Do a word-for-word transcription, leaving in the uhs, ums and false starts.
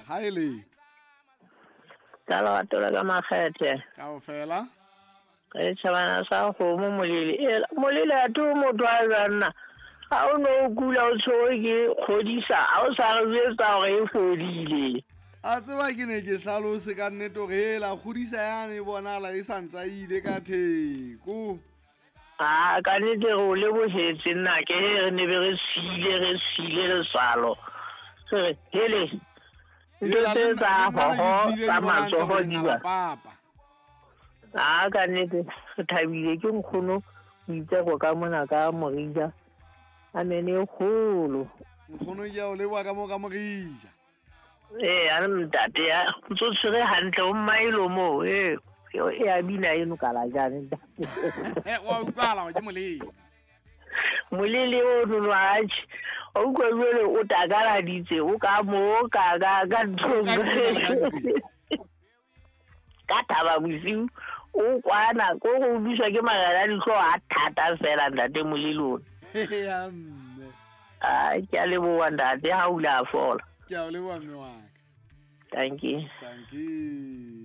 Haele Ka lerato la ka makgethe. Kaofela. Re tjhabana sa kgomo molele. E molele a to motho a jwanna. Ha o no o kula o tshwerwe ke kgodisa, ha o sa re jwetsa hore e fodile. A tseba ke ne ke hlalose ka nnete hore hela kgodisa yane e bonahala e sa ntsa ile ka theko. Ah, ka nnete re o lebohetse nna ke re ne be re siile re siile letswalo. Re re hele ntho Hela, tse le nna- tsa le nna ne ke hoho tsile tsa ke bona ntse matsoho hore di nala ba. papa. Ah, ka nnete re thabile ke nkgono boitseko ka mona ka Morija. Amen e kgolo. Nkgono ke a o leboha ka moo ka Morija. Ee, a re ntate ya ntso tshwere hantle o mmaelo moo. Ee, e a bina eno ka la jane ntate. Eh, wa utlwahala hore ke molele. Molele o nono atjhe. O utlwa jwale o takaladitse o ka moo ka ka ka nthong. Ka ntlong, ka ntlong. Ka thaba bosiu o kwana ko go utlwiswa ke marena a dihlooho a thata fela ntate molele ona. Ya mme. Ah, ke a leboha ntate ha o ile a fola. Ke a o leboha mme wa ka. Thank you. Thank you.